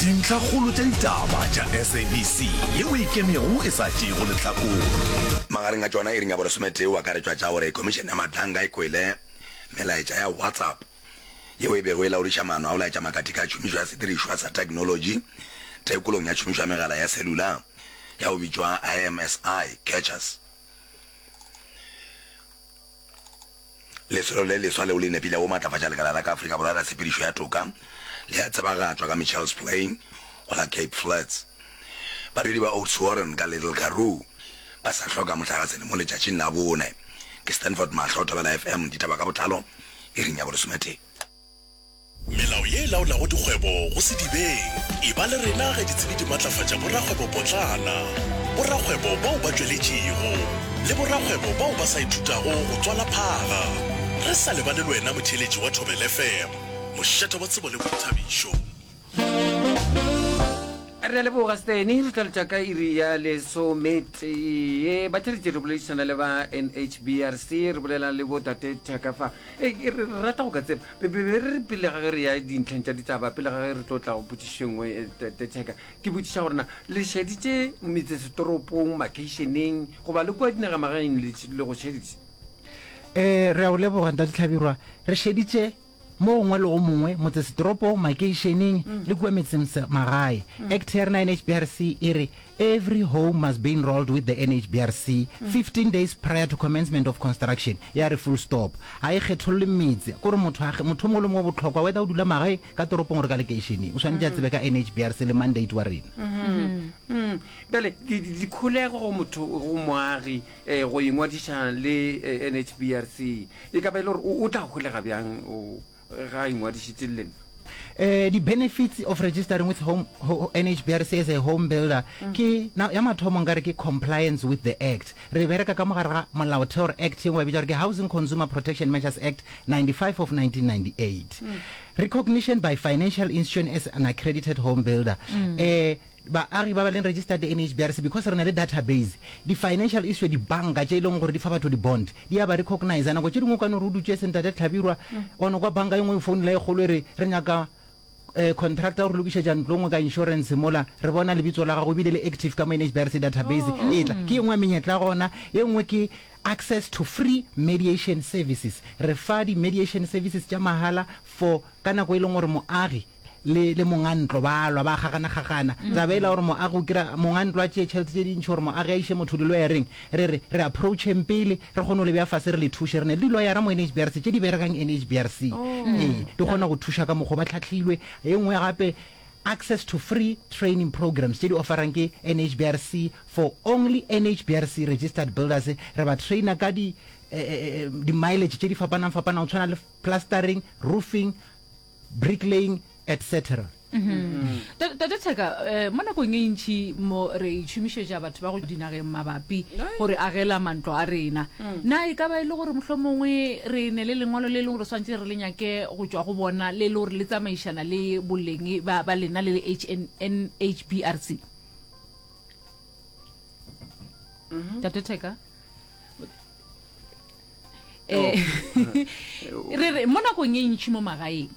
Dintlhakgolo tša ditaba tša SABC yeo e ikemego e sa tšeego lehlakore. Magareng a tšona iring ya bolesometee o akaretšwa tša gore Khomišene ya Madlanga e kwele melaetša ya WhatsApp yeo e bego e laodiša maano a go laetša makatika a tšhomišo ya sedirišwa sa theknolotši tekolong ya tšhomišo ya megala ya cellular ya go bitšwa IMSI catchers. Lesolo le leswa leo le nepilego go matlafatša lekala la ka Afrika Borwa la tshepedišo ya toka le a tsebagatšwa ka Mitchells Plain go la Cape Flats. Badudi ba Oudtshoorn ka Little Karoo ba sa hloka mohlagase le mo letšatšing la bone. Ke Stanford Mahlo, Thobela FM, ditaba ka botlalo iring ya bolesometee. Melao ye e laolago dikgwebo go sedibeng. Eba le rena ge ditsebi di matlafatša borakgwebopotlana, borakgwebo bao ba tšweletšego, le borakgwebo bao ba sa ithutago go tswala phaga. Re sa lebale le wena motheeletši wa Thobela FM, mošate wa tsebo le boithabišo. Re a leboga Steny, re tla letša ka iri ya lesometee. Batheeletši re boledišana le ba NHBRC, re bolela le bo tate Thaka fa. E, re re rata go ka tseba, be be re re pele ga ge re ya dintlheng tša ditaba, pele ga ge re tlo tla go potšišo e nngwe, eh, tate Thaka, ke botšiša gore na le šeditše metsesetoropong, makheišeneng goba le kua dinagamagaeng le, le go šeditše? Eh, re a o leboga Ntate Hlabirwa. Re šeditše mo gongwe le go mongwe, motsesetoropong, makeišeneng le kua metseng magae. Act ya rena NHBRC e re every home must be enrolled with the NHBRC 15 days prior to commencement of construction. Ya re full stop. Ga e kgetholle metse. Kore motho a, motho o mongwe le mongwe o bohlokwa whether o dula magae, ka toropong or ka lekeišeneng. O swanetše a tsebe ka NHBRC le mandate wa rena. Bjale dikholego go motho, go moagi eh, go ingwadiša le eh, NHBRC e ka ba e le gore o tla holega bjang ga a ingwadišitše le lena? Eh, di-benefits of registering with home, ho, NHBRC as a home builder mm. ke na, ya mathomo nkare ke compliance with the act. Re bereka ka mogare ga molaotheo or act ye nngwe ba bitša gore ke Housing Consumer Protection Measures Act 95 of 1998. Mm. Recognition by financial institution as an accredited home builder. Mm. Eh, Baagi ba ba leng registered le NHBRC because re na le database, di financial issue, dibanka tše e leng gore di fa batho di bond, di a ba recognizer. Nako tše dingwe o ka no re o dutše se Ntate Hlabirwa, wa no kwa banka e nngwe e founela e kgolo e re re nyaka eh, contractor go re lokišetša ntlo nngwe ka insurance mola, re bona lebitso la gago ebile le active ka mo NHBRC database e tla. Ke e nngwe ya menyetla ya gona. E nngwe ke access to free mediation services. Re fa di mediation services tša mahala for ka nako e leng gore moagi le, le mongantlo ba lwa, ba gaganagagana. Taba ela gore moagi o kira, mongantlo a tšee tšhelete tše dintši gore moagi a iše motho diloyareng, re re, re approacheng pele, re kgone go le bea fase re le thuše. Re ne le diloyara mo NHBRC tše di berekang NHBRC. Ee, di kgona go thuša ka mokgo ba hlahlilwe. E nngwe gape, access to free training programs tše di offerang ke NHBRC for only NHBRC registered builders. Re ba trainer ka di, eh, eh, di mileage tše di fapanang-fapanang go tshwana le plastering, roofing, bricklaying, etc. Tate Theka, eh, mo nakong e ntši mo re itšhomišetša batho ba go dinageng mabapi gore agela mantlo a rena. Na e ka ba e le gore mohlomongwe re ne le lengwalo le leng gore swantše re le nyake go tšwa go bona le le gore le tsamaišana le boleng ba, ba lena le le HNHBRC? Tate Theka? Eh, re re mo nakong e ntši mo magaeng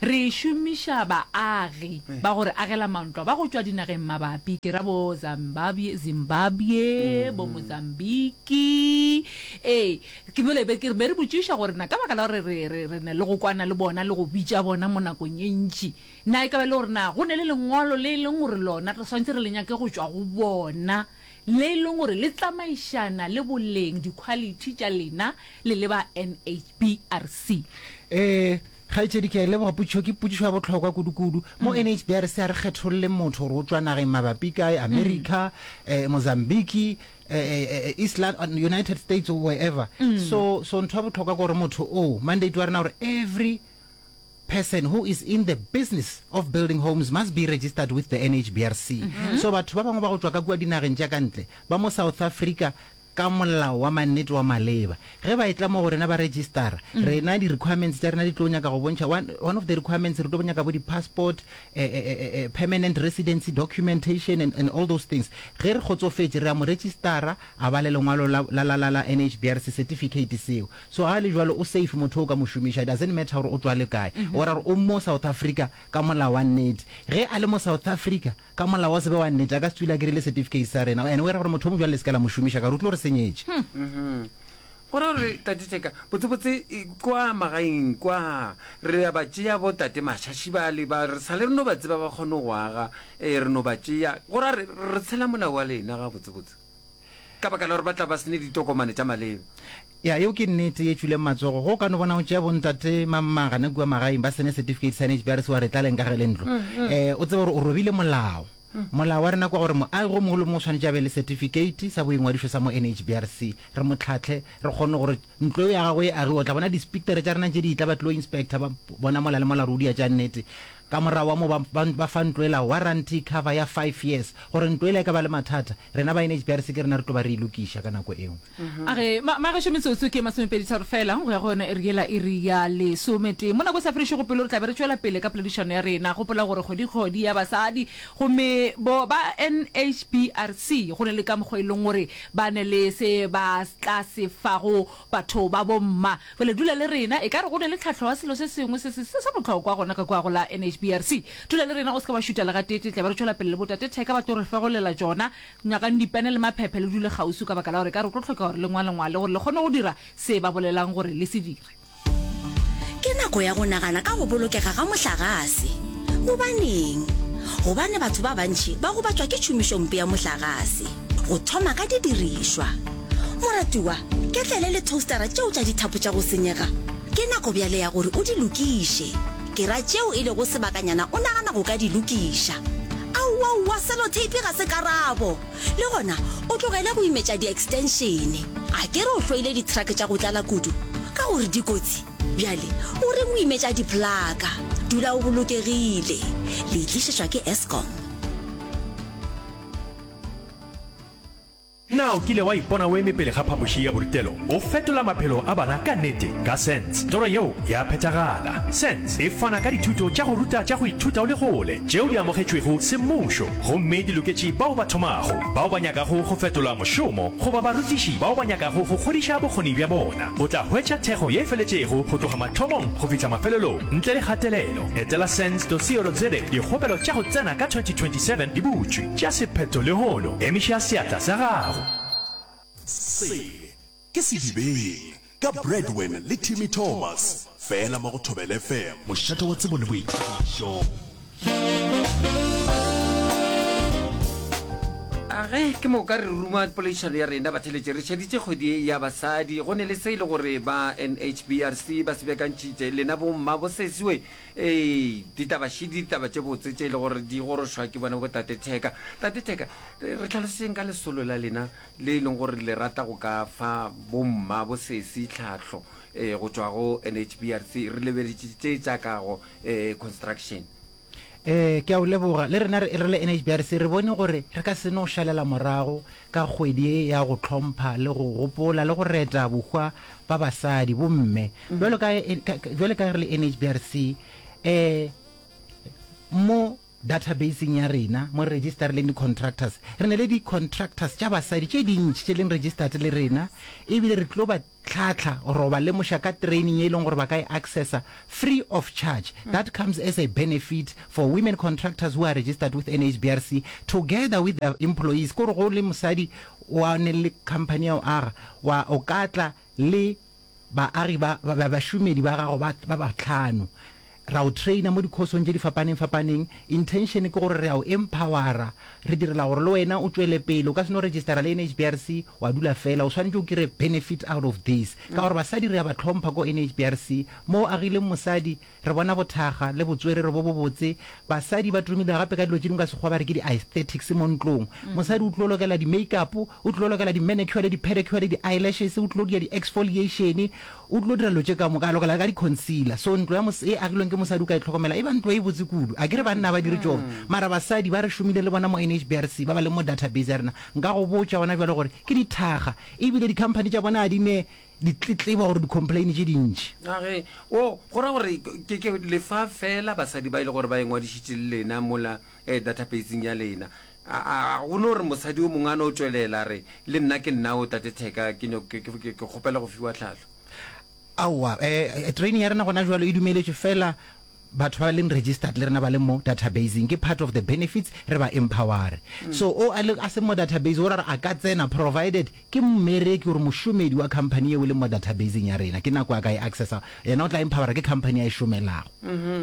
re šomiša baagi ba gore agela mantlo ba go tšwa dinageng mabapi ke ra bo Zimbabwe, Zimbabwe bo Mozambique ee ke bole be ke be re botšiša gore na ka baka la gore re re re ne le go kwana le bona le go bitša bona mo nakong e ntši na e ka ba le gore na go ne le lengwalo le e leng gore lona re swantse re le nyake go tšwa go bona le e leng gore le tsamaišana le boleng, dikhwalithi, tša lena le le ba NHBRC. Ee, kgaetšedi, ke a e leboga potšišo. Ke potšišo ya bohlokwa kudu-kudu. Mo NHBRC ga re kgetholle motho gore o tšwa nageng mabapi kae, America, eh, Mozambique, eh, eh, East London, United States or wherever. So, so ntho ya bohlokwa ke gore motho oo, mandate wa rena gore every person who is in the business of building homes must be registered with the NHBRC. Mm -hmm. So batho ba bangwe ba go tšwa ka kua dinageng tša ka ntle ba mo South Africa. ka molao wa mannete wa maleba. Ge ba etla mo go rena ba registera, rena di-requirements tša rena di tlo nyaka go bontšha, one, one of the requirements re tlo nyaka bo di-passport, eh, eh, eh, eh, permanent residency documentation and, and all those things. Ge re kgotsofetše, re a mo registera, a ba le lengwalo la, la, la, la, la NHBRC certificate seo. So ga le jwalo o safe motho o ka mo šomiša, it doesn't matter gore o tšwa le kae. O ra gore o mo South Africa ka molao wa nnete. Ge a le mo South Africa ka molao wa se be wa nnete, a ka se tswile a kry-ile certificate sa rena. And o era gore motho o mo bjalo le se ke la mo šomiša ka gore o tlo re senyetše. Go ra gore Tate Tšeka, botsebotse kwa magaeng kwa re a ba tšea bo Tate Mašaši bale ba re sa le re no ba tseba ba kgone go aga, ee re no ba tšea. Go ra re re tshela molao wa lena gabotsebotse. Ka baka la gore ba tla ba se ne ditokomane tša maleba. Ya, yeo ke nnete ye tšwileng matsogo. Ge o ka no bona o tšea bontate mamma gana kua magaeng ba se ne certificate sa NHB a re se wa re tlaleng ka ge le ntlo. Eh, o tsebe gore o robile molao. Molao wa rena kwa gore moagi o mongwe le mongwe o swanetše a be le certificate sa boingwadišo sa mo NHBRC. Re mo tlhahle, re kgone gore ntlo eo ya gagwe e agiwe. O tla bona di-spectere tša rena tše di etla ba tlilo inspector ba bona mola le mola gore o dia tša nnete. Ka morago wa moo ba, ba, ba fa ntlo ela warranty cover ya five years gore ntlo ela e ka ba le mathata, rena ba NHBRC ke rena re tlo ba re e lokiša ka nako eo. A re, Ma, magešo metsotso ke masomepeditharo feela go ya go yona iri yela, iri ya lesometee. Mo nako e sa fedišego pelo re tla be re tšwela pele ka poledišano ya rena. Gopola gore kgwedi kgwedi ya basadi, gomme bo ba NHBRC go ne le ka mokgwa e leng gore ba ne le se ba tla se fago batho ba bomma. Bjale dula le rena, e ka re go ne le tlhahlo ya selo se sengwe se se se sa bohlokwa gona ka kua go la NHBRC. Dula le rena, o se ke wa šuta le gateetee, tla be re tšwela pele le botate Theka ba tlo re fegolela tšona. Nyakang dipene le maphephe le dule kgauswi ka baka la gore e ka re go tlo hlokega gore le ngwalengwale gore le kgone go dira se ba bolelang gore le se dire. Ke nako ya go nagana ka go bolokega ga mohlagase. Gobaneng? Gobane batho ba bantši ba gobatšwa ke tšhomišompe ya mohlagase, go thoma ka didirišwa. Moratiwa, ketlele le toastara tšeo tša dithapo tša go senyega, ke nako bjale ya gore o di lokiše. Ke ra tšeo e lego sebakanyana o nagana go ka di lokiša. Aowaowa, seloteipi ga se karabo! Le gona o tlogele go imetša di-extension. A ke re o hloile di-truck tša go tlala kudu ka gore di kotsi? Bjale o reng o imetša di-plaka? Dula o bolokegile. Le e tlišetšwa ke Eskom. Na o kile wa ipona o eme pele ga phapoši ya borutelo o fetola maphelo a bana ka nnete? Ka SENS, toro yeo ya phethagala. SENS e fana ka dithuto tša go ruta tša go ithuta o le kgole tšeo di amogetšwego semmušo gomme di loketše bao ba thomago, bao ba nyakago go fetola mošomo goba barutiši bao ba nyakago go godiša bokgoni bja bona. O tla hwetša thekgo ye e feletšego go tloga mathomong go fihla mafelelong ntle le kgatelelo. Etela sens.co.za. Dikgopelo tša go tsena ka 2027 di butšwe. Tšea sephetho lehono. Emiša seatla sa gago. Se ke Sedibeng ka Bradwin le Timmy Thomas, fela mo go Thobela FM. Mošate wa tsebo le boithabišo. A ge ke moka re ruma poledišano ya rena batheletše re šeditše kgwedi ye ya basadi go ne le se e le gore ba NHBRC ba se beakantšhitše lena bomma bosesiwe ee ditaba šidi ditaba tše botse tše e le gore di gorošwa ke bona botate Theka tate Theka re tlhaloseng ka lesolo la lena le e leng gore le rata go ka fa bomma bosesi tlhahlo um go tšwa go NHBRC re lebeletše tše tša kago um construction Ee, ke a o leboga. Le rena re re le NHBRC re bone gore re ka se no šalela morago ka kgwedi ye ya go hlompha le go gopola le go reta bohwa ba basadi, bomme. Bjalo ka, bjalo ka ge re le NHBRC, eh, mo databaseng ya rena, mo re registerileng di-contractors, re na le di-contractors tša basadi tše dintši tše leng registered le rena, ebile re tlo ba tlhahla or go ba lemoša ka training ye e leng gore ba ka e accessa free of charge. That comes as a benefit for women contractors who are registered with NHBRC together with their employees. Ke gore go le mosadi wa ne le company ya go aga, wa o ka tla le baagi ba, ba, bašomedi ba gago ba, ba bahlano. Ra o trainer mo dikhosong tše di fapaneng fapaneng. Intention ke gore re a o empowera, re direla gore le wena o tšwele pele. O ka se no registera le NHBRC wa dula fela, o swanetše o kry benefit out of this. Ka gore basadi re a ba hlompha ko NHBRC. Mo o agileng mosadi, re bona bothakga le botswerere bo bobotse. Basadi ba tumile gape ka dilo tše dingwe ka Sekgowa ba re ke di-aesthetics mo ntlong. Mosadi o tlo lokela di-makeup, o tlo lokela di-manicure le di-pedicure le di-eyelashes, o tlo dira di-exfoliation, O tlo dira dilo tše ka moka, a lokela le ka di-concealer. So ntlo ya mos-, e agilweng ke mosadi. mosadi o ka e tlhokomela e ba ntlo e botse kudu. A ke re banna ba dire tšona, mara basadi ba re šomile le bona mo NHBRC ba ba leng mo database ya rena, nka go botša gona bjale gore ke dithaga ebile di-company tša bona ga di ne ditletlebo gore di-complain tše dintši. A ge, o, go ra gore ke, ke lefa fela basadi ba e le gore ba ingwadišitše le lena mola eh, databaseng ya lena. A, a, go no re mosadi o mongwe a no tšwelela a re, Le nna ke nna o, Tate Theka, ke nyok, ke, ke, ke, ke kgopela go fiwa tlhahlo. Aowa, eh, training ya rena gona jwalo e dumeletšwe fela batho ba leng registered le rena ba leng mo databaseng, ke part of the benefits, re ba empowere. So o a le, a seng mo database, go ra gore a ka tsena provided ke mmereki or mošomedi wa company yeo e leng mo databaseng ya rena, ke nako a ka e accessa, yena o tla empowera ke company a e šomelago.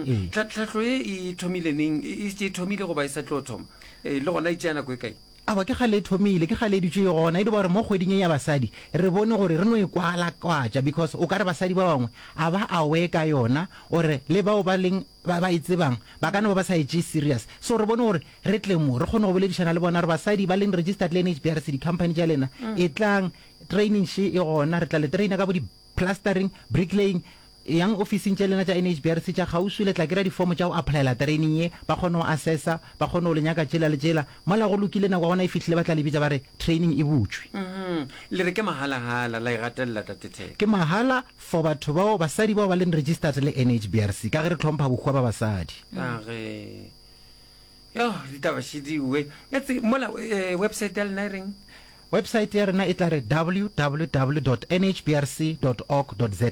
Ee. Tlha, tlhahlo ye e thomile neng? E, e šetše e thomile goba e sa tlo thoma? Eh, le gona e tšea nako e kae? Aowa, ke kgale e thomile, ke kgale e dutše e gona. E no ba gore mo kgweding ye ya basadi, re bone gore re no e kwalakwatša because o ka re basadi ba bangwe a ba aware ka yona or le bao ba leng ba ba e tsebang ba ka no ba ba sa e tšee serious. So re bone gore re tle mo re kgone go boledišana le bona gore basadi ba leng registered le NHBRC di-company tša lena etlang training še e gona, re tla le trainer ka bo di plastering, bricklaying, Eyang ofising tša lena tša NHBRC tša kgauswi, le tla kry-a difomo tša go applyela training ye, ba kgone go assessa, ba kgone go le nyaka tšela le tšela. Mola go lokile, nako ya gona e fihlile, ba tla le bitša ba re training e butšwe. Le re ke mahalahala, la e gatelela Tate Theko. Ke mahala for batho bao, basadi bao ba leng registered le NHBRC, ka ge re hlompha bohwa ba basadi. A ge. Yoh, ditaba šidiwe. Etse, mola eh, website ya lena e reng? Website ya rena e tla re www dot nhbrc dot org dot za.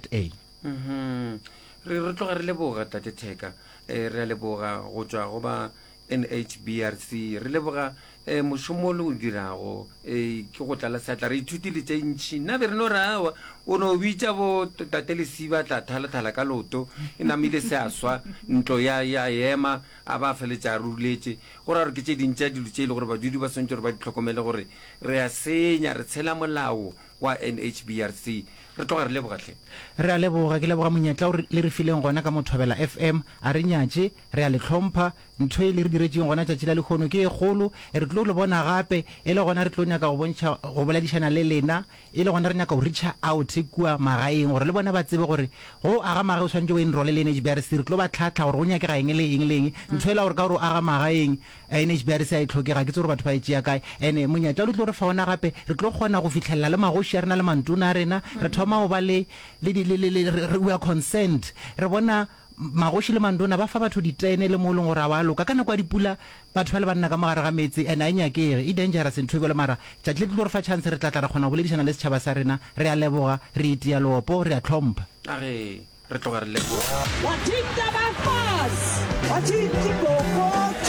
Mhm. Re re tloga re leboga Tate Theka. Eh, re a leboga go tšwa go ba NHBRC. Re leboga eh, mošomo o le o dirago. Eh, ke go tlala seatla. Re ithutile tše ntši. Nna be re no re aowa, o no bitša bo Tate Lesiba tla thalathala ka loto. E namile se a swa, ntlo ya ya ema. A ba feletša a ruletše. Go ra gore ke tše ding tša dilo tše e le gore badudi ba swanetše gore ba di hlokomele gore re a senya, re tshela molao wa NHBRC. Re tloga re leboga hle. Re a leboga. Ke leboga monyetla o le re fileng gona ka mo Thobela FM. A re nyatše, re a le hlompha. Ntho e le re diretšeng gona tšatši la lehono ke e kgolo. Re tlo le bona gape, e le gona re tlo nyaka go bontšha, go boledišana le lena. E le gona re nyaka go reacha out kua magaeng gore le bona ba tsebe gore go aga magae o swanetše o enrole le NHBRC. Re tlo ba tlhahla gore go nyakega eng le eng le eng. Ntho ela gore ka gore o aga magaeng NHBRC ga e hlokege, ga ke tsebe gore batho ba e tšea kae. And monyetla o le tlo re fa ona gape re tlo kgona go fihlelela le magoši a rena le mantona a rena. Re thoma go ba le, le, le, le, le, we are concerned. Re bona Magoši le mandona ba fa batho ditene le mo e leng gore ga wa loka. Ka nako ya dipula batho ba le banna ka mo gare ga meetse and a e nyakege. E dangerous ntho e bjalo mara tšatši le tlo re fa chance re tla tla ra kgona go boledišana le setšhaba sa rena. Re a leboga, re itia leopo, re a hlompha. A re, Re tloga re leboga.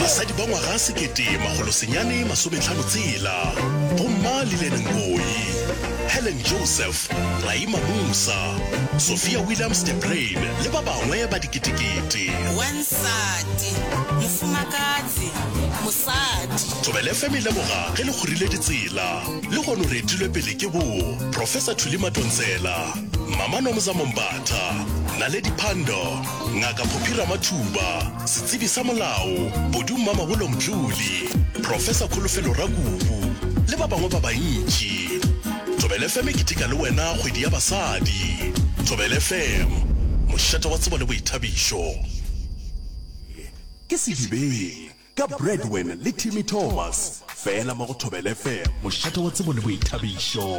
Basadi ba ngwaga 1956, Bomma Lillian Ngoyi, Helen Joseph, Raima Moosa, Sophia Williams de Bruyn le ba bangwe ba diketekete. Wansati, mofumakadzi, mosadi. Thobela FM e leboga ge le kgorile ditsela. Lehono re etilwe pele ke bo Professor Thuli Madonsela, Mama Nomzamo Mbatha, Naledi Pandor, Ngaka Phophi Ramathuba, setsebi sa molao, Bodu Mmamabolo Mdluli, Professor Kholofelo Rakubu le ba bangwe ba bantši. Thobela FM e keteka le wena kgwedi ya basadi. Thobela FM, mošate wa tsebo le boithabišo. Ke Sedibeng ka Bradwin le Timmy Thomas, fela mo go Thobela FM, mošate wa tsebo le boithabišo.